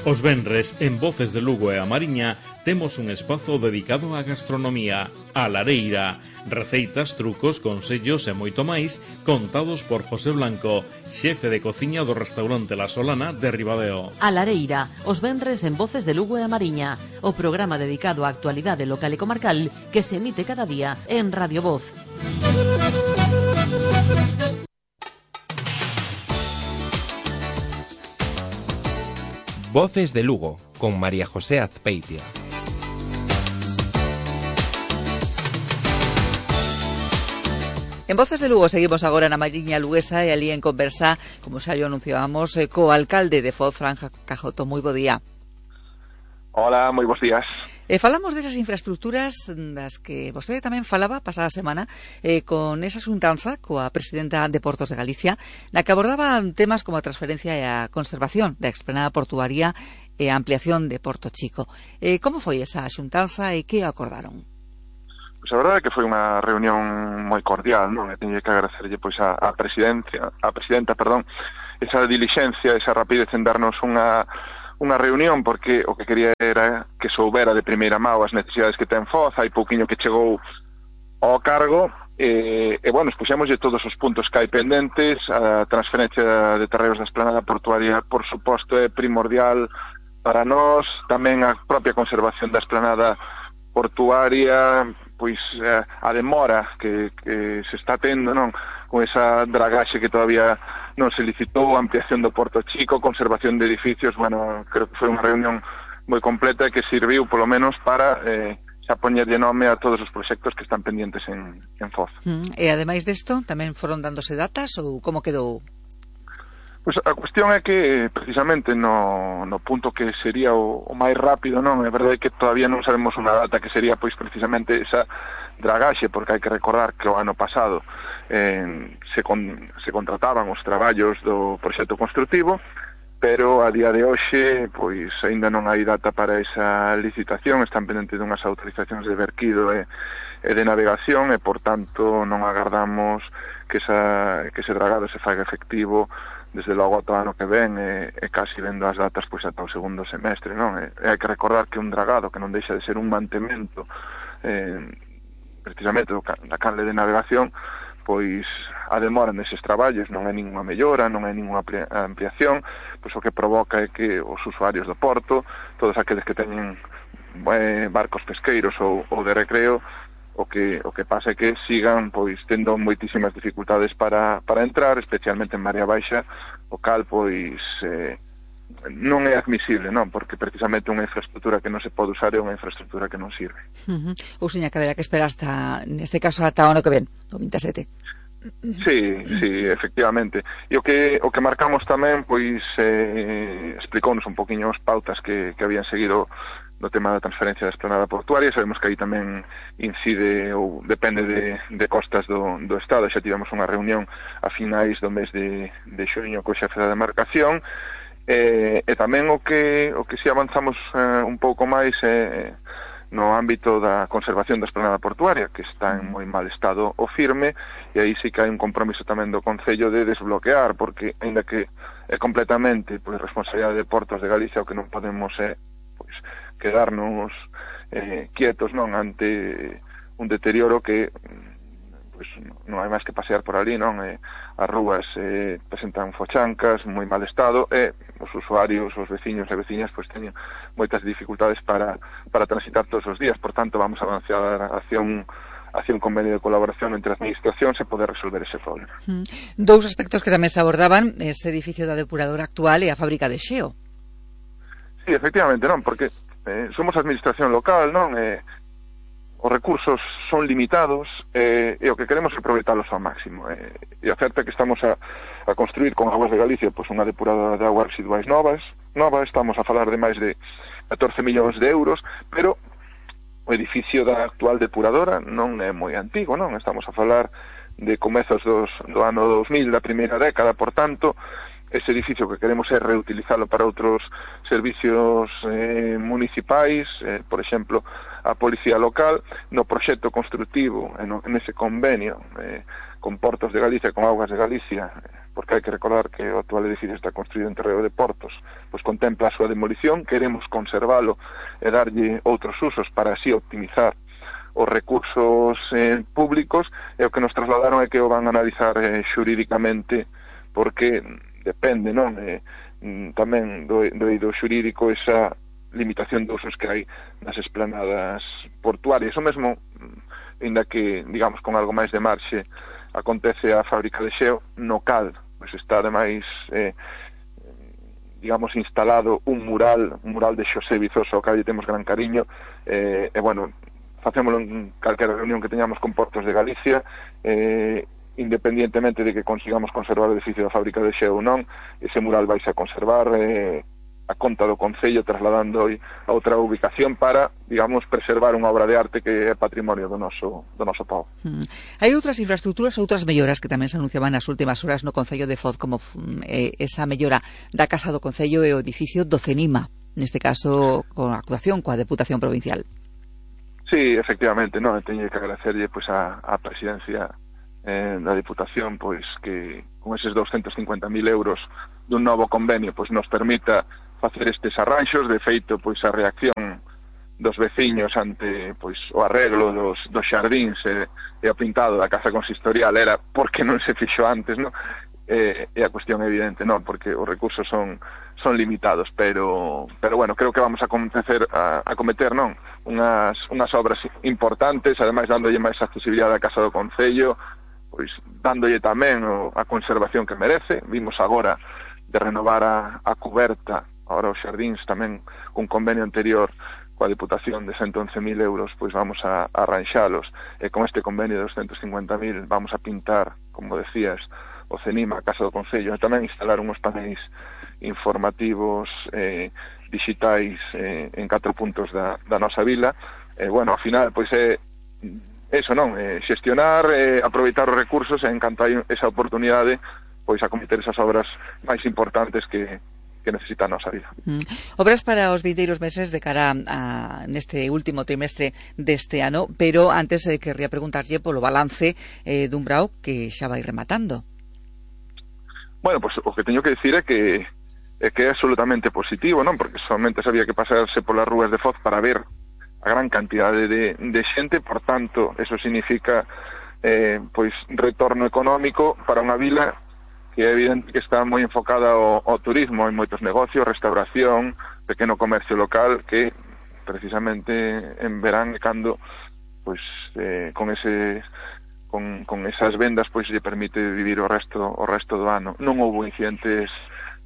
Os venres, en Voces de Lugo e a Mariña, temos un espazo dedicado á gastronomía, a lareira, receitas, trucos, consellos e moito máis, contados por José Blanco, xefe de cociña do restaurante La Solana de Ribadeo. A lareira, os venres en Voces de Lugo e a Mariña, o programa dedicado á actualidade local e comarcal que se emite cada día en Radio Voz. Voces de Lugo, con María José Azpeitia. En Voces de Lugo seguimos agora na Mariña Luguesa e ali en conversa, como xa yo anunciábamos, co alcalde de Foz, Fran Cajoto. Moi bo día. Hola, moi bons días. Falamos desas infraestructuras das que vostede tamén falaba pasada semana con esa xuntanza coa presidenta de Portos de Galicia, na que abordaban temas como a transferencia e a conservación da explanada portuaria e a ampliación de Porto Chico. Como foi esa xuntanza e que acordaron? Pois a verdade é que foi unha reunión moi cordial, non? E teño que agradecerlle pois a presidenta, esa dilixencia, esa rapidez en darnos unha reunión, porque o que quería era que soubera de primeira mão as necesidades que ten Foz. Hai pouquiño que chegou ao cargo e bueno, expuxémoslle todos os puntos que hai pendentes. A transferencia de terreos da esplanada portuaria, por suposto, é primordial para nós, tamén a propia conservación da esplanada portuaria, pois a demora que se está tendo, non, con esa dragaxe que todavía non se licitou, ampliación do Porto Chico, conservación de edificios. Bueno, creo que foi unha reunión moi completa e que serviu polo menos para xa poñerlle nome a todos os proxectos que están pendientes en Foz. E ademais desto, tamén foron dándose datas ou como quedou? Pois a cuestión é que precisamente no punto que sería o máis rápido, non, é verdade que todavía non sabemos unha data que sería pois precisamente esa dragaxe, porque hai que recordar que o ano pasado se contrataban os traballos do proxecto construtivo, pero a día de hoxe pois aínda non hai data para esa licitación. Están pendentes dunhas autorizacións de verquido e de navegación e, por tanto, non agardamos que ese dragado se faga efectivo desde logo ata o ano que ven e casi vendo as datas pois ata o segundo semestre, non? E hai que recordar que un dragado que non deixa de ser un mantemento precisamente da canle de navegación, pois a demora neses traballos non é ninguna mellora, non é ninguna ampliación, pois o que provoca é que os usuarios do porto, todos aqueles que teñen barcos pesqueiros ou de recreo, o que pasa é que sigan pois tendo moitísimas dificultades para entrar, especialmente en Marea Baixa, o cal pois non é admisible, non, porque precisamente unha infraestructura que non se pode usar é unha infraestructura que non sirve. Ou seña que haberá que esperar hasta, neste caso, ata o ano que ven, o 27. Sí, efectivamente. E o que marcamos tamén, pois, explicounos un poquinho as pautas que habían seguido no tema da transferencia da esplanada portuaria. Sabemos que aí tamén incide ou depende de costas do Estado. Xa tivemos unha reunión a finais do mes de xuño co xefe da demarcación, e tamén o que si avanzamos un pouco máis no ámbito da conservación da esplanada portuaria, que está en moi mal estado o firme, e aí sí que hai un compromiso tamén do Concello de desbloquear, porque aínda que é completamente pois responsabilidade de Portos de Galicia, o que non podemos é pois quedarnos quietos, non, ante un deterioro que pois non hai máis que pasear por ali, non? As rúas presentan fochancas, moi mal estado, e os usuarios, os veciños e veciñas pois teñen moitas dificultades para transitar todos os días. Por tanto, vamos a avanzar hacia un convenio de colaboración entre administracións e poder resolver ese problema. Dous aspectos que tamén se abordaban, ese edificio da depuradora actual e a fábrica de xeo. Sí, efectivamente, non, porque somos administración local, non? Os recursos son limitados e o que queremos é aproveitalos ao máximo. E a certa que estamos a construir con Aguas de Galicia pois unha depuradora de aguas residuais nova, estamos a falar de máis de 14 millóns de euros, pero o edificio da actual depuradora non é moi antigo, non? Estamos a falar de comezos do ano 2000, da primeira década. Por tanto, ese edificio que queremos é reutilizalo para outros servicios municipais, por exemplo, a Policía Local. No proxecto construtivo, nese convenio con Portos de Galicia, con Augas de Galicia, porque hai que recordar que o actual edificio está construído en terreo de Portos, pois contempla a súa demolición, queremos conservalo e darlle outros usos para así optimizar os recursos públicos, e o que nos trasladaron é que o van a analizar xurídicamente, porque depende, non? Tamén do eido xurídico esa limitación de usos que hai nas esplanadas portuarias. O mesmo, ainda que, digamos, con algo máis de marxe, acontece a fábrica de xeo, no cal pois está ademais digamos instalado un mural de Xosé Vizoso ao cal temos gran cariño, e bueno, facémolo en calquera reunión que teñamos con Portos de Galicia, independientemente de que consigamos conservar o edificio da fábrica de xeo ou non, ese mural vais a conservar a conta do Concello, trasladando a outra ubicación para, digamos, preservar unha obra de arte que é patrimonio do noso povo. Hai outras infraestructuras, outras melloras que tamén se anunciaban nas últimas horas no Concello de Foz, como esa mellora da Casa do Concello e o edificio do CENIMA, neste caso con actuación coa Deputación Provincial. Sí, efectivamente, non, teño que agradecerlle pois a presidencia da Diputación, pois que con eses 250.000 euros dun novo convenio pois nos permita facer estes arranxos. De feito, pois a reacción dos veciños ante pois o arreglo dos xardíns e o pintado da casa consistorial era porque non se fixo antes, non? E a cuestión é evidente, non, porque os recursos son limitados, pero bueno, creo que vamos a cometer non, unhas obras importantes, ademais dándolle máis accesibilidade á casa do Concello, pois dándolle tamén a conservación que merece. Vimos agora de renovar a cuberta, agora os xardíns tamén cun convenio anterior coa Diputación de 111.000 euros, pois vamos a arranxalos, e con este convenio de 250.000 vamos a pintar, como decías, o CENIMA, a Casa do Concello, e tamén instalar uns paneis informativos digitais en 4 puntos da nosa vila. Bueno, ao final, pois é eso, non? Xestionar, aproveitar os recursos, e en canto hai esa oportunidade, pois acometer esas obras máis importantes que necesita a nosa vida. Obras para os vindeiros meses de cara a neste último trimestre deste ano, pero antes querría preguntarlle polo balance dun brao que xa vai rematando. Bueno, pois o que teño que dicir é que é absolutamente positivo, non? Porque somente sabía que pasarse polas rúas de Foz para ver a gran cantidade de xente, por tanto, eso significa pois retorno económico para unha vila que é evidente que está moi enfocada ao turismo, hai moitos negocios, restauración, pequeno comercio local, que precisamente en verán cando pois con esas vendas pois lle permite vivir o resto do ano. Non houbo incidentes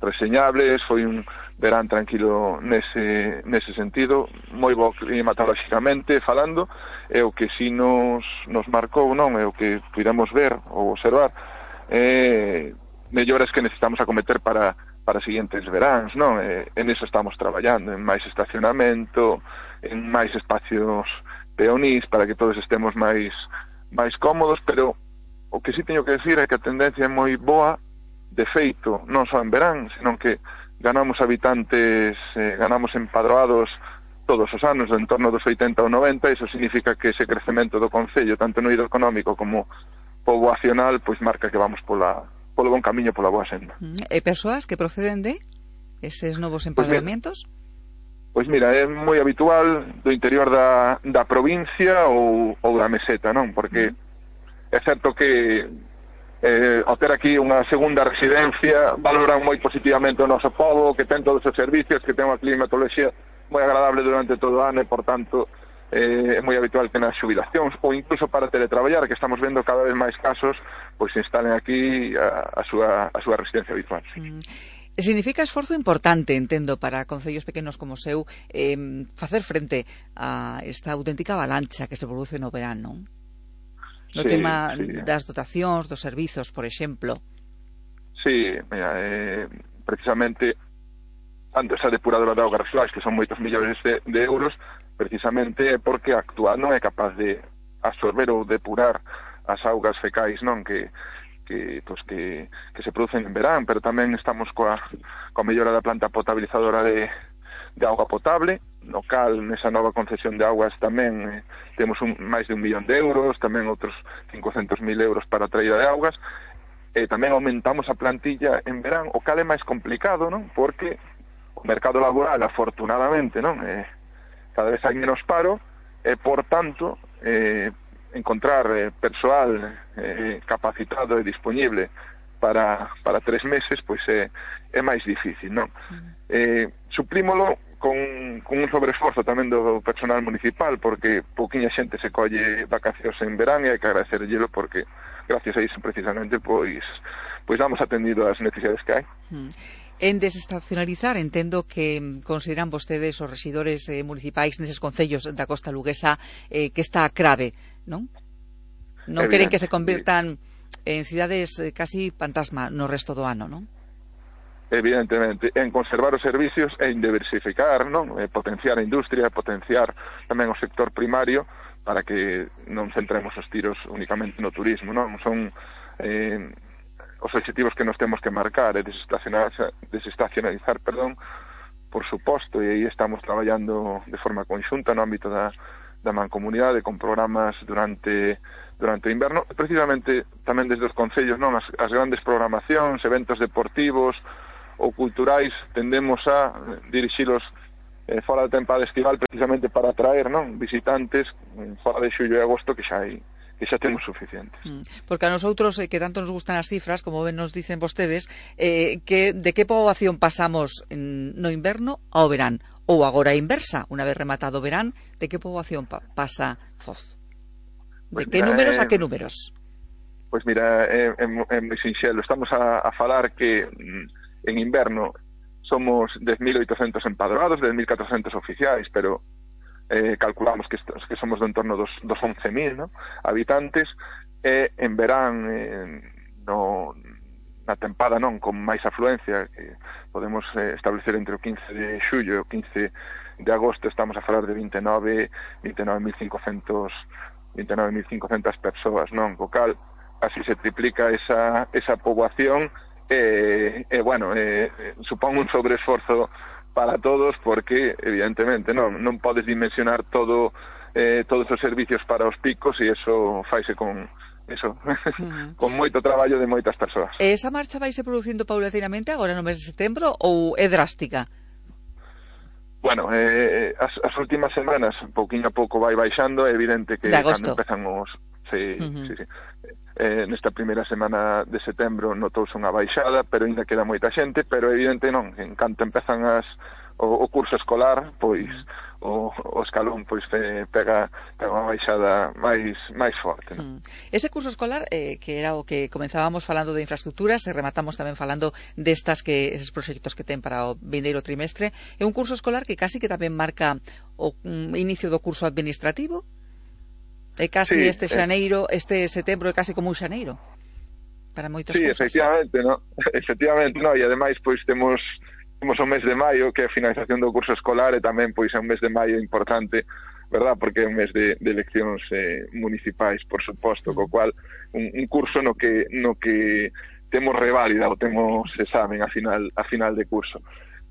reseñables, foi un verán tranquilo nese sentido, moi bo climatolóxicamente falando, e o que si nos marcou, non, é o que puidemos ver ou observar, melloras que necesitamos acometer para seguintes veráns, non? En eso estamos traballando, en máis estacionamento, en máis espacios peonís, para que todos estemos máis cómodos, pero o que sí teño que decir é que a tendencia é moi boa, de feito, non só en verán, senón que ganamos habitantes, ganamos empadroados todos os anos, en torno dos 80 ou 90, iso significa que ese crecemento do Concello, tanto no eido económico como poboacional, pois marca que vamos polo bon camiño, pola boa senda. E persoas que proceden de eses novos empadroamientos? Pois mira, é moi habitual do interior da provincia ou da meseta, non? Porque é certo que ao ter aquí unha segunda residencia valoran moi positivamente o noso pobo, que ten todos os servicios, que ten unha climatoloxía moi agradable durante todo o ano, e por tanto é moi habitual que nas xubilacións ou incluso para teletraballar, que estamos vendo cada vez máis casos, pois se instalen aquí a súa residencia habitual. Significa esforzo importante, entendo, para concellos pequenos como o seu facer frente a esta auténtica avalancha que se produce no verán, non? No tema das dotacións, dos servizos, por exemplo. Sí, mira, precisamente tanto esa depuradora de augas residuais, que son moitos millóns de euros, precisamente é porque a actual non é capaz de absorber ou depurar as augas fecais, non, que se producen en verán, pero tamén estamos coa mellora da planta potabilizadora de auga potable, no cal nesa nova concesión de augas tamén temos máis de 1 millón de euros, tamén outros 500.000 euros para a traída de augas, tamén aumentamos a plantilla en verán, o cal é máis complicado, non? Porque o mercado laboral, afortunadamente, non? Cada vez hai menos paro, e, por tanto, encontrar persoal capacitado e disponible para 3 meses, pois é máis difícil, non? Suprímolo con un sobreesforzo tamén do personal municipal, porque pouquiña xente se colle vacacións en verán e hai que agradecerllelo porque gracias a iso precisamente pois damos atendido ás necesidades que hai. En desestacionalizar, entendo que consideran vostedes os rexidores municipais neses concellos da costa luguesa que está grave, non? Non queren que se convirtan en cidades casi fantasma no resto do ano, non? Evidentemente, en conservar os servicios e en diversificar, non? Potenciar a industria, potenciar tamén o sector primario para que non centremos os tiros únicamente no turismo, non? Son os objetivos que nos temos que marcar, desestacionalizar, por suposto, e aí estamos traballando de forma conxunta no ámbito da mancomunidade con programas durante o inverno, precisamente tamén desde os concellos, non? As grandes programacións, eventos deportivos ou culturais, tendemos a dirixilos fora da tempada estival precisamente para atraer, non? Visitantes fora de xullo e agosto que xa temos suficientes. Porque a nosotros, que tanto nos gustan as cifras, como ben nos dicen vostedes, de que poboación pasamos no inverno ao verán? Ou agora a inversa, unha vez rematado o verán, de que poboación pasa Foz? De que números a que números? Pois mira, é moi sinxelo. Estamos a falar que en inverno somos 10.800 empadroados, 10.400 oficiais, pero calculamos que somos do entorno dos 11.000, ¿no? Habitantes, e en verán na tempada non con máis afluencia, que podemos establecer entre o 15 de xullo e o 15 de agosto, estamos a falar de 29.500 persoas, non? Co cal, así se triplica esa poboación, supón un sobreesforzo para todos, porque evidentemente non podes dimensionar todos os servicios para os picos, e eso faise con con moito traballo de moitas persoas. Esa marcha vaise producindo paulatinamente agora no mes de setembro ou é drástica? Bueno, as últimas semanas pouquiño a pouco vai baixando, é evidente que cando empezan os... Sí. Nesta primeira semana de setembro notouse unha baixada, pero ainda queda moita xente, pero evidente non, en canto empezan o curso escolar, pois o escalón pois pega unha baixada máis forte, non? Ese curso escolar, que era o que comenzábamos falando de infraestructuras, e rematamos tamén falando eses proxectos que ten para o vindeiro trimestre, é un curso escolar que casi que tamén marca o inicio do curso administrativo. É casi este setembro é casi como un xaneiro para moitas cousas. Efectivamente, no, e ademais pois temos o mes de maio, que é a finalización do curso escolar, e tamén pois é un mes de maio importante, verdad, porque é un mes de eleccións municipais, por suposto, co cual un curso no que temos reválida ou temos examen a final de curso.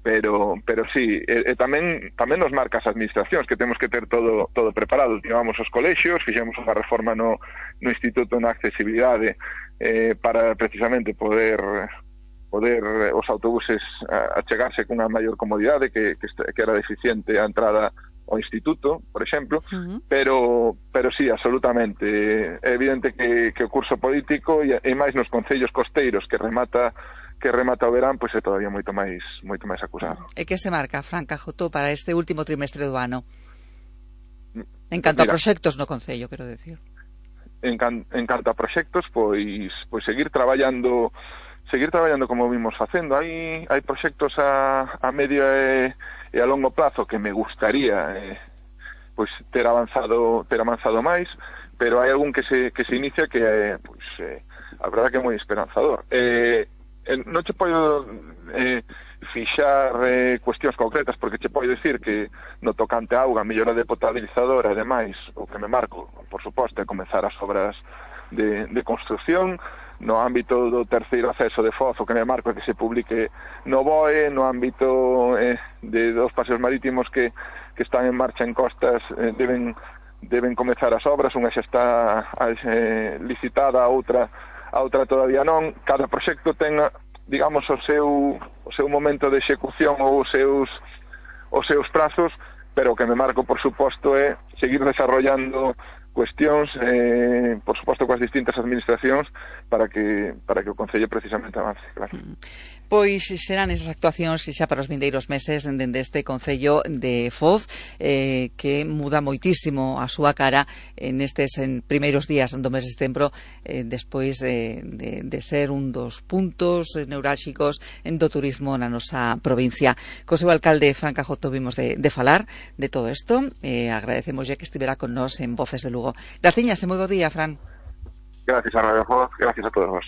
Pero sí, tamén nos marca as administracións, que temos que ter todo preparado. Llevamos os colexios, fixemos unha reforma no Instituto na accesibilidade para precisamente poder os autobuses achegarse con unha maior comodidade, que era deficiente a entrada ao instituto, por exemplo, pero sí, absolutamente. É evidente que o curso político e máis nos concellos costeiros que remata o verán, pois é todavía moito máis acusado. E que se marca, Fran Cajotó, para este último trimestre do ano? En canto a proxectos no concello, quero decir. En canto a proxectos, pois seguir traballando como vimos facendo. Hai proxectos a medio e a longo plazo que me gustaría pois ter avanzado máis, pero hai algún que se inicia que a verdade que é moi esperanzador. Non che podo fixar cuestións concretas, porque che podo dicir que no tocante a auga, mellora de potabilizadora e demais, o que me marco, por suposto, é comezar as obras de construcción. No ámbito do terceiro acceso de Foz, o que me marco é que se publique no BOE. No ámbito dos paseos marítimos que están en marcha en costas, deben comezar as obras. Unha xa está licitada, a outra a outra todavía non. Cada proxecto ten, digamos, o seu momento de execución ou os seus prazos, pero o que me marco, por suposto, é seguir desarrollando cuestións, por suposto, coas distintas administracións para que o Concello precisamente avance, claro. Pois serán esas actuacións xa para os vindeiros meses dende este Concello de Foz, que muda moitísimo a súa cara nestes primeiros días do mes de setembro, despois de ser un dos puntos neurálxicos do turismo na nosa provincia. Co seu alcalde Fran Cajoto vimos de falar de todo isto. Agradecemos ya que estivera con nós en Voces de Lugo. Graciñas e moi bo día, Fran. Gracias a Radio Foz, gracias a todos vos.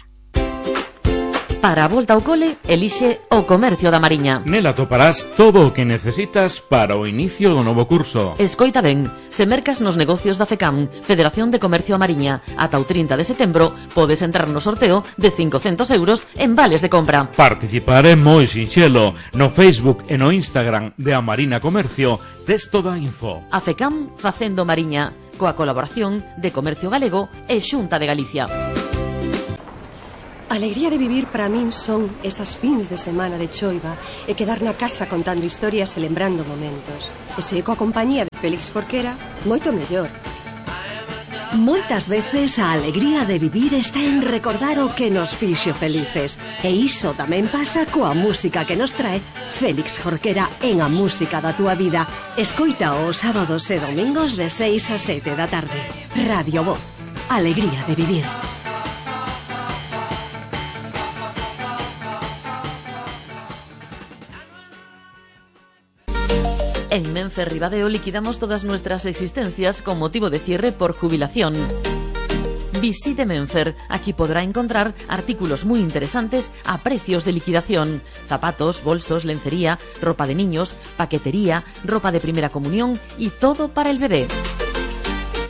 Para a volta ao cole, elixe o Comercio da Mariña. Nela toparás todo o que necesitas para o inicio do novo curso. Escoita ben, se mercas nos negocios da FECAM, Federación de Comercio a Mariña, ata o 30 de setembro, podes entrar no sorteo de 500 euros en vales de compra. Participar é moi sinxelo. No Facebook e no Instagram de A Marina Comercio tes toda a info. A FECAM facendo Mariña, coa colaboración de Comercio Galego e Xunta de Galicia. A alegría de vivir para min son esas fins de semana de choiva e quedar na casa contando historias e lembrando momentos. E se coa compañía de Félix Jorquera, moito mellor. Moitas veces a alegría de vivir está en recordar o que nos fixo felices. E iso tamén pasa coa música que nos trae Félix Jorquera en A Música da Túa Vida. Escoita os sábados e domingos de 6 a 7 da tarde. Radio Voz. Alegría de vivir. En Menfer Ribadeo liquidamos todas nuestras existencias con motivo de cierre por jubilación. Visite Menfer, aquí podrá encontrar artículos muy interesantes a precios de liquidación. Zapatos, bolsos, lencería, ropa de niños, paquetería, ropa de primera comunión y todo para el bebé.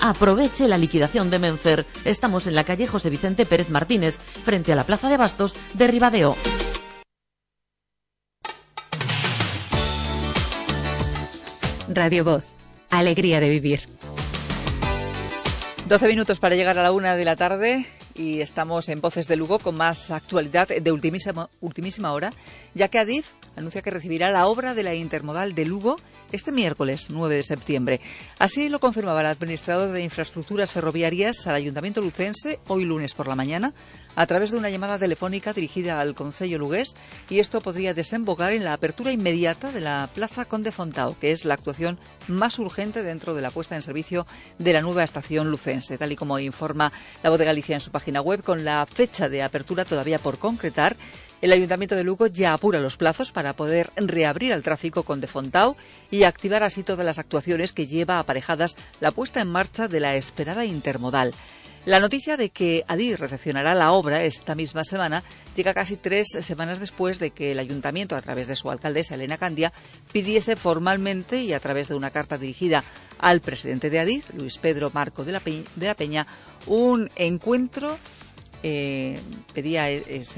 Aproveche la liquidación de Menfer. Estamos en la calle José Vicente Pérez Martínez, frente a la Plaza de Bastos de Ribadeo. Radio Voz. Alegría de vivir. 12 minutos para llegar a la 1 de la tarde y estamos en Voces de Lugo con más actualidad de ultimísima hora, ya que Adif anuncia que recibirá la obra de la intermodal de Lugo este miércoles 9 de septiembre. Así lo confirmaba el administrador de Infraestructuras Ferroviarias al Ayuntamiento lucense hoy lunes por la mañana a través de una llamada telefónica dirigida al Concello lugués, y esto podría desembocar en la apertura inmediata de la Plaza Conde Fontao, que es la actuación más urgente dentro de la puesta en servicio de la nueva estación lucense, tal y como informa La Voz de Galicia en su página web. Con la fecha de apertura todavía por concretar, el Ayuntamiento de Lugo ya apura los plazos para poder reabrir el tráfico Conde Fontao y activar así todas las actuaciones que lleva aparejadas la puesta en marcha de la esperada intermodal. La noticia de que Adif recepcionará la obra esta misma semana llega casi 3 semanas después de que el Ayuntamiento, a través de su alcaldesa Elena Candia, pidiese formalmente y a través de una carta dirigida al presidente de Adif, Luis Pedro Marco de la Peña, un encuentro. Pedía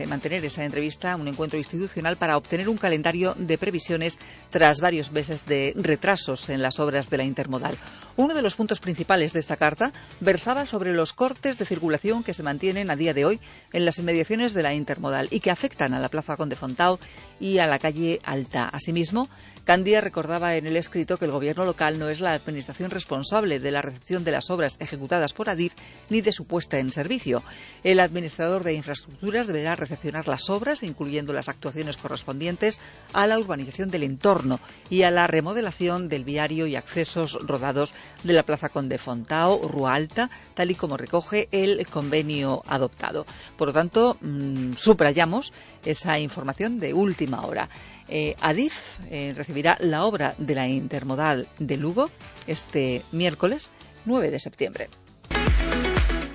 mantener esa entrevista, un encuentro institucional para obtener un calendario de previsiones tras varios meses de retrasos en las obras de la intermodal. Uno de los puntos principales de esta carta versaba sobre los cortes de circulación que se mantienen a día de hoy en las inmediaciones de la intermodal y que afectan a la Plaza Conde Fontao y a la calle Alta. Asimismo, Candia recordaba en el escrito que el gobierno local no es la administración responsable de la recepción de las obras ejecutadas por Adif ni de su puesta en servicio. El administrador de infraestructuras deberá recepcionar las obras, incluyendo las actuaciones correspondientes a la urbanización del entorno y a la remodelación del viario y accesos rodados de la Plaza Conde Fontao, Rúa Alta, tal y como recoge el convenio adoptado. Por lo tanto, subrayamos esa información de última hora. Adif recibirá la obra de la intermodal de Lugo este miércoles 9 de septiembre.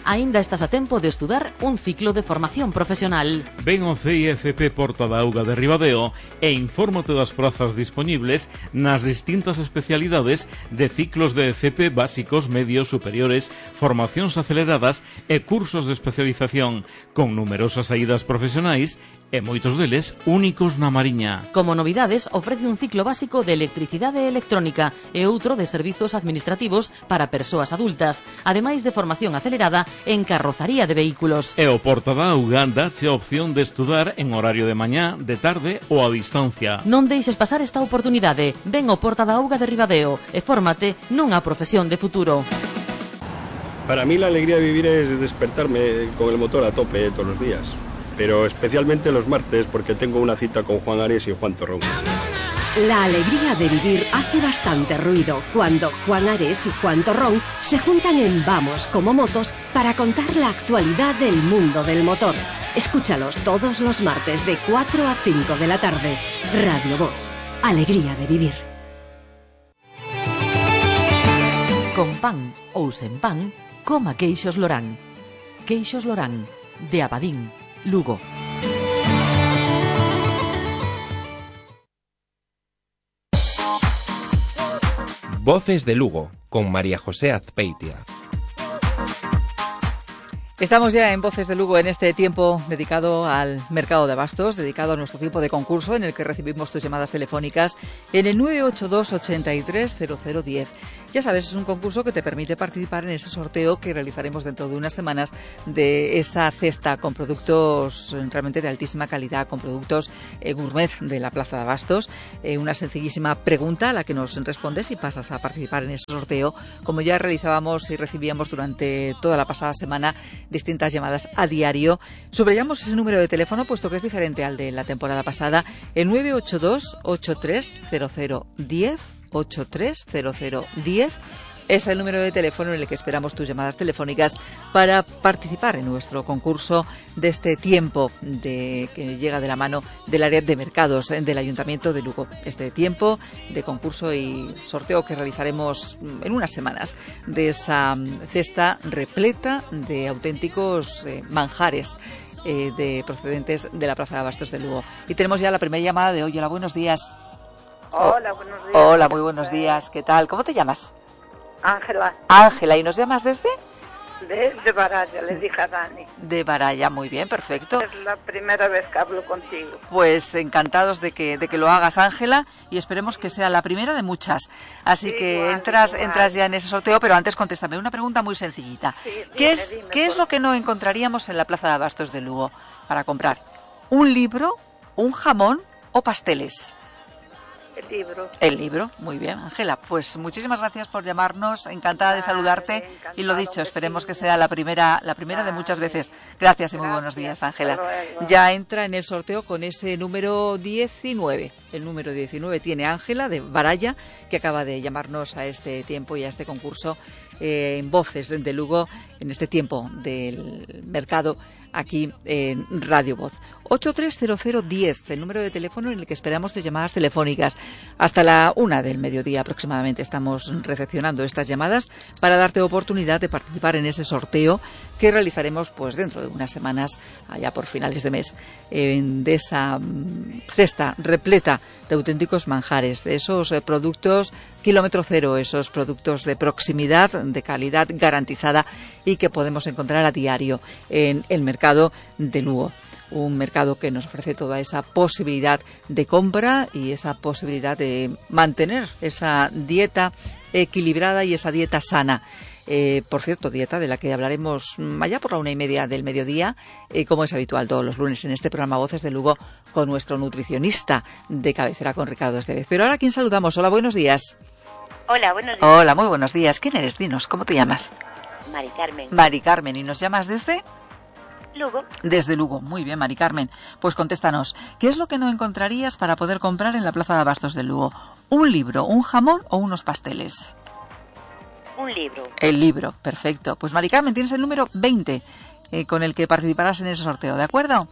Aínda estás a tempo de estudar un ciclo de formación profesional. Ven ao CIFP Porta da Auga de Ribadeo e infórmate das prazas dispoñibles nas distintas especialidades de ciclos de FP básicos, medios, superiores, formacións aceleradas e cursos de especialización, con numerosas saídas profesionais e moitos deles únicos na Mariña. Como novidades, ofrece un ciclo básico de electricidade electrónica e outro de servizos administrativos para persoas adultas, ademais de formación acelerada en carrozaría de vehículos. E o Porta da Auga dache a opción de estudar en horario de mañá, de tarde ou a distancia. Non deixes pasar esta oportunidade. Ven ao Porta da Auga de Ribadeo e fórmate nunha profesión de futuro. Para mí la alegría de vivir es despertarme con el motor a tope todos los días, pero especialmente los martes porque tengo una cita con Juan Ares y Juan Torrón. La alegría de vivir hace bastante ruido cuando Juan Ares y Juan Torrón se juntan en Vamos como Motos para contar la actualidad del mundo del motor. Escúchalos todos los martes de 4 a 5 de la tarde. Radio Voz. Alegría de vivir. Con pan ou sen pan, coma queixos Lorán. Queixos Lorán, de Abadín, Lugo. Voces de Lugo, con María José Azpeitia. Estamos ya en Voces de Lugo en este tiempo dedicado al mercado de abastos, dedicado a nuestro tiempo de concurso en el que recibimos tus llamadas telefónicas en el 982 83 0010. Ya sabes, es un concurso que te permite participar en ese sorteo que realizaremos dentro de unas semanas de esa cesta con productos realmente de altísima calidad, con productos gourmet de la Plaza de Abastos. Una sencillísima pregunta a la que nos respondes y pasas a participar en ese sorteo, como ya realizábamos y recibíamos durante toda la pasada semana distintas llamadas a diario. Subrayamos ese número de teléfono puesto que es diferente al de la temporada pasada, el 982 83 0010, 830010 es el número de teléfono en el que esperamos tus llamadas telefónicas para participar en nuestro concurso de este tiempo que llega de la mano del área de mercados del Ayuntamiento de Lugo. Este tiempo de concurso y sorteo que realizaremos en unas semanas de esa cesta repleta de auténticos manjares de procedentes de la Plaza de Abastos de Lugo. Y tenemos ya la primera llamada de hoy. Hola, buenos días. Hola, buenos días. Hola, muy buenos días. ¿Qué tal? ¿Cómo te llamas? Ángela. Ángela, ¿y nos llamas desde? De Baralla, le dije a Dani. De Baralla, muy bien, perfecto. Es la primera vez que hablo contigo. Pues encantados de que lo hagas, Ángela, y esperemos que sea la primera de muchas. Así sí, que igual, entras ya en ese sorteo, pero antes contéstame una pregunta muy sencillita. Sí, ¿Qué es lo que no encontraríamos en la Plaza de Abastos de Lugo para comprar? ¿Un libro, un jamón o pasteles? El libro. El libro, muy bien, Ángela. Pues muchísimas gracias por llamarnos, encantada de saludarte y lo dicho, esperemos que sea la primera de muchas veces. Gracias y muy buenos días, Ángela. Ya entra en el sorteo con ese número 19. El número 19 tiene Ángela de Baralla, que acaba de llamarnos a este tiempo y a este concurso en Voces de Lugo, en este tiempo del mercado aquí en Radio Voz. 830010, el número de teléfono en el que esperamos tus llamadas telefónicas. Hasta la 1 del mediodía aproximadamente estamos recepcionando estas llamadas para darte oportunidad de participar en ese sorteo que realizaremos pues dentro de unas semanas, allá por finales de mes, de esa cesta repleta de auténticos manjares, de esos productos kilómetro cero, esos productos de proximidad, de calidad garantizada y que podemos encontrar a diario en el mercado de Lugo. Un mercado que nos ofrece toda esa posibilidad de compra y esa posibilidad de mantener esa dieta equilibrada y esa dieta sana. Por cierto, dieta de la que hablaremos allá por la 1:30 del mediodía, como es habitual todos los lunes en este programa Voces de Lugo, con nuestro nutricionista de cabecera, con Ricardo Estevez. Pero ahora, ¿a quién saludamos? Hola, buenos días. Hola, buenos días. Hola, muy buenos días. ¿Quién eres? Dinos, ¿cómo te llamas? Mari Carmen. Mari Carmen, ¿y nos llamas desde? Lugo. Desde Lugo, muy bien, Mari Carmen. Pues contéstanos, ¿qué es lo que no encontrarías para poder comprar en la Plaza de Abastos de Lugo? ¿Un libro, un jamón o unos pasteles? Un libro. El libro, perfecto. Pues Mari Carmen, tienes el número 20 con el que participarás en ese sorteo, ¿de acuerdo?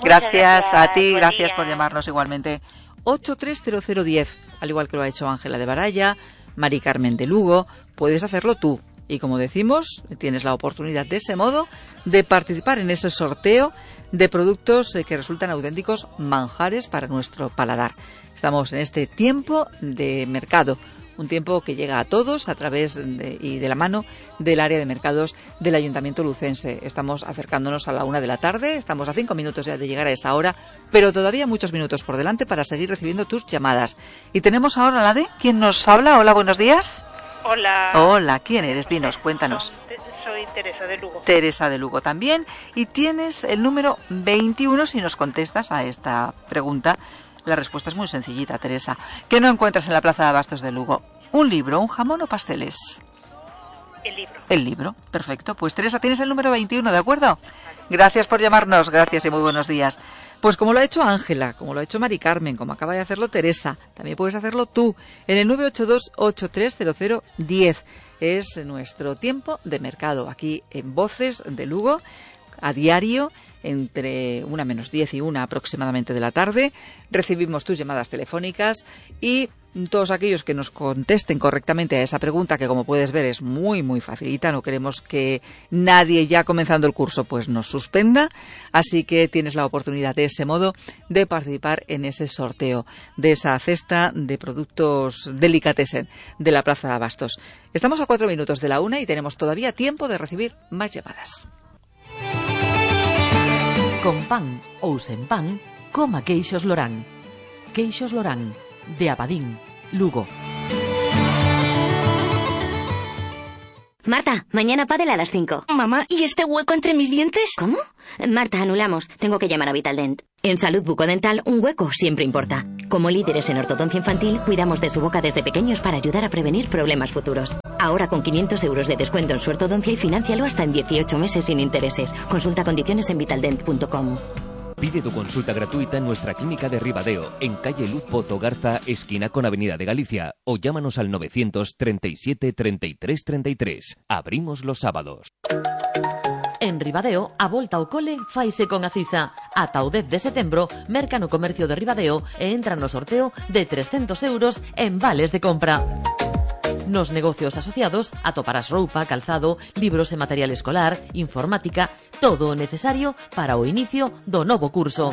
Gracias a ti, gracias por llamarnos igualmente. 830010, al igual que lo ha hecho Ángela de Baralla, Mari Carmen de Lugo, puedes hacerlo tú. Y como decimos, tienes la oportunidad de ese modo de participar en ese sorteo de productos que resultan auténticos manjares para nuestro paladar. Estamos en este tiempo de mercado, Un tiempo que llega a todos a través y de la mano del área de mercados del Ayuntamiento lucense. Estamos acercándonos a la 1 de la tarde, estamos a 5 minutos ya de llegar a esa hora, pero todavía muchos minutos por delante para seguir recibiendo tus llamadas. Y tenemos ahora la de... ¿Quién nos habla? Hola, buenos días. Hola. Hola, ¿quién eres? Dinos, cuéntanos. Soy Teresa de Lugo. Teresa de Lugo también. Y tienes el número 21 si nos contestas a esta pregunta. La respuesta es muy sencillita, Teresa. ¿Qué no encuentras en la Plaza de Abastos de Lugo? ¿Un libro, un jamón o pasteles? El libro. El libro, perfecto. Pues Teresa, tienes el número 21, ¿de acuerdo? Gracias por llamarnos, gracias y muy buenos días. Pues como lo ha hecho Ángela, como lo ha hecho Mari Carmen, como acaba de hacerlo Teresa, también puedes hacerlo tú en el 982-830010. Es nuestro tiempo de mercado aquí en Voces de Lugo, a diario, entre 1 menos 10 y 1 aproximadamente de la tarde. Recibimos tus llamadas telefónicas y todos aquellos que nos contesten correctamente a esa pregunta, que como puedes ver es muy muy facilita, no queremos que nadie ya comenzando el curso pues nos suspenda, así que tienes la oportunidad de ese modo de participar en ese sorteo de esa cesta de productos delicatessen de la Plaza de Abastos. Estamos a 4 minutos de la 1 y tenemos todavía tiempo de recibir más llamadas. Con pan ou sen pan, coma queixos Lorán. Queixos Lorán, de Abadín, Lugo. Marta, mañana pádel a las 5. Mamá, ¿y este hueco entre mis dientes? ¿Cómo? Marta, anulamos. Tengo que llamar a Vitaldent. En Salud Bucodental, un hueco siempre importa. Como líderes en ortodoncia infantil, cuidamos de su boca desde pequeños para ayudar a prevenir problemas futuros. Ahora con 500 euros de descuento en su ortodoncia y financialo hasta en 18 meses sin intereses. Consulta condiciones en vitaldent.com. Pide tu consulta gratuita en nuestra clínica de Ribadeo, en calle Luz Pozo Garza, esquina con Avenida de Galicia, o llámanos al 937 33 33. Abrimos los sábados. En Ribadeo, a volta ao cole faise con Acisa. Ata o 10 de setembro, merca no comercio de Ribadeo e entra no sorteo de 300 euros en vales de compra. Nos negocios asociados atoparás roupa, calzado, libros e material escolar, informática, todo o necesario para o inicio do novo curso.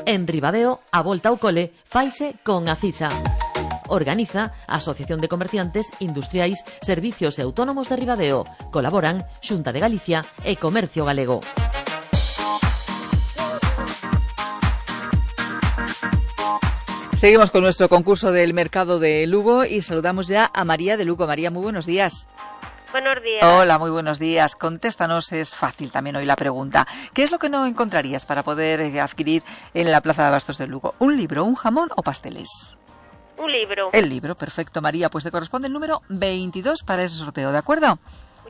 En Ribadeo, a volta ao cole faise con Acisa. Organiza a Asociación de Comerciantes Industriais, Servicios e Autónomos de Ribadeo. Colaboran Xunta de Galicia e Comercio Galego. Seguimos con nuestro concurso del mercado de Lugo y saludamos ya a María de Lugo. María, muy buenos días. Buenos días. Hola, muy buenos días. Contéstanos, es fácil también hoy la pregunta. ¿Qué es lo que no encontrarías para poder adquirir en la Plaza de Abastos de Lugo? ¿Un libro, un jamón o pasteles? Un libro. El libro, perfecto, María. Pues te corresponde el número 22 para ese sorteo, ¿de acuerdo?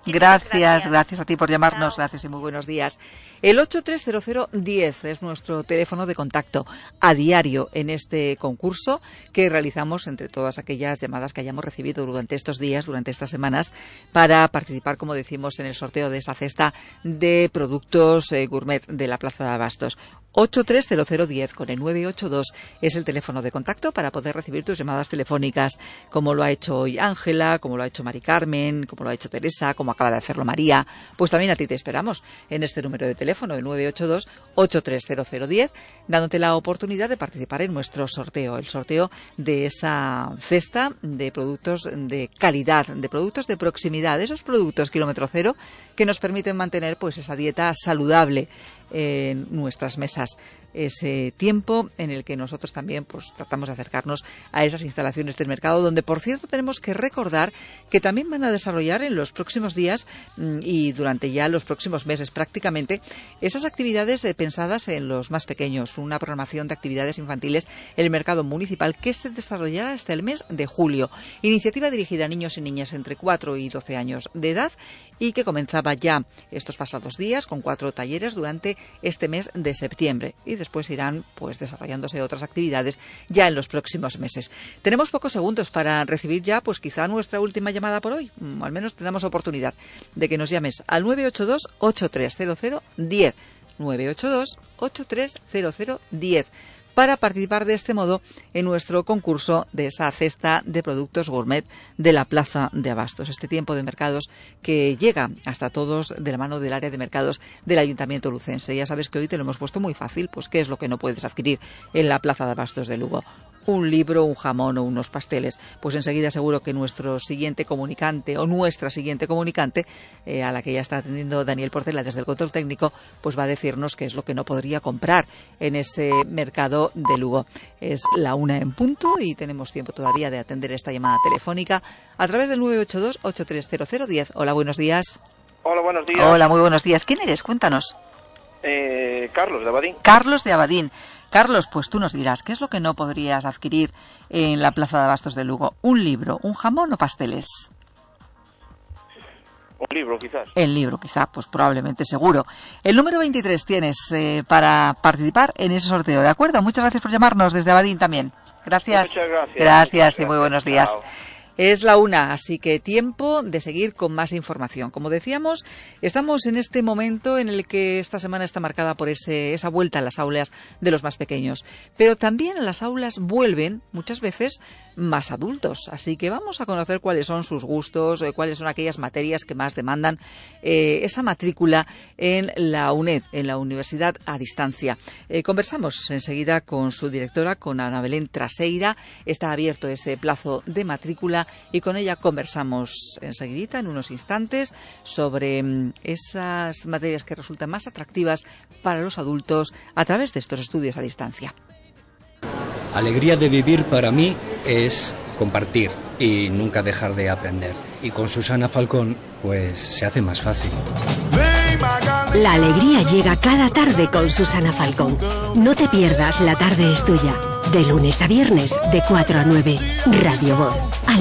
Gracias a ti por llamarnos, gracias y muy buenos días. El 830010 es nuestro teléfono de contacto a diario en este concurso que realizamos entre todas aquellas llamadas que hayamos recibido durante estos días, durante estas semanas, para participar, como decimos, en el sorteo de esa cesta de productos gourmet de la Plaza de Abastos. 830010 con el 982 es el teléfono de contacto para poder recibir tus llamadas telefónicas, como lo ha hecho hoy Ángela, como lo ha hecho Mari Carmen, como lo ha hecho Teresa, como acaba de hacerlo María. Pues también a ti te esperamos en este número de teléfono, el 982-830010, dándote la oportunidad de participar en nuestro sorteo, el sorteo de esa cesta de productos de calidad, de productos de proximidad, esos productos kilómetro cero que nos permiten mantener pues esa dieta saludable en nuestras mesas, ese tiempo en el que nosotros también pues tratamos de acercarnos a esas instalaciones del mercado, donde por cierto tenemos que recordar que también van a desarrollar en los próximos días y durante ya los próximos meses prácticamente esas actividades pensadas en los más pequeños, una programación de actividades infantiles en el mercado municipal que se desarrollará hasta el mes de julio, iniciativa dirigida a niños y niñas entre 4 y 12 años de edad y que comenzaba ya estos pasados días con 4 talleres durante este mes de septiembre y después irán pues desarrollándose otras actividades ya en los próximos meses. Tenemos pocos segundos para recibir ya pues quizá nuestra última llamada por hoy, al menos tenemos oportunidad de que nos llames al 982-830010 982-830010 para participar de este modo en nuestro concurso de esa cesta de productos gourmet de la Plaza de Abastos. Este tiempo de mercados que llega hasta todos de la mano del área de mercados del Ayuntamiento lucense. Ya sabes que hoy te lo hemos puesto muy fácil, pues qué es lo que no puedes adquirir en la Plaza de Abastos de Lugo. un libro, un jamón o unos pasteles. Pues enseguida seguro que nuestro siguiente comunicante o nuestra siguiente comunicante, a la que ya está atendiendo Daniel Portela desde el control técnico, pues va a decirnos qué es lo que no podría comprar en ese mercado de Lugo. Es la 1 en punto y tenemos tiempo todavía de atender esta llamada telefónica a través del 982-830010. Hola, buenos días. Hola, buenos días. Hola, muy buenos días. ¿Quién eres? Cuéntanos. Carlos de Abadín. Carlos de Abadín. Carlos, pues tú nos dirás, ¿qué es lo que no podrías adquirir en la Plaza de Abastos de Lugo? ¿Un libro, un jamón o pasteles? Un libro, quizás. El libro, quizá, pues probablemente, seguro. El número 23 tienes para participar en ese sorteo, ¿de acuerdo? Muchas gracias por llamarnos desde Abadín también. Gracias. Muchas gracias. Gracias y muy buenos días. Chao. Es la 1, así que tiempo de seguir con más información. Como decíamos, estamos en este momento en el que esta semana está marcada por esa vuelta a las aulas de los más pequeños. Pero también a las aulas vuelven, muchas veces, más adultos. Así que vamos a conocer cuáles son sus gustos, cuáles son aquellas materias que más demandan esa matrícula en la UNED, en la Universidad a Distancia. Conversamos enseguida con su directora, con Ana Belén Traseira. Está abierto ese plazo de matrícula y con ella conversamos enseguidita, en unos instantes, sobre esas materias que resultan más atractivas para los adultos a través de estos estudios a distancia. Alegría de vivir para mí es compartir y nunca dejar de aprender. Y con Susana Falcón, pues se hace más fácil. La alegría llega cada tarde con Susana Falcón. No te pierdas La tarde es tuya. De lunes a viernes, de 4 a 9. Radio Voz.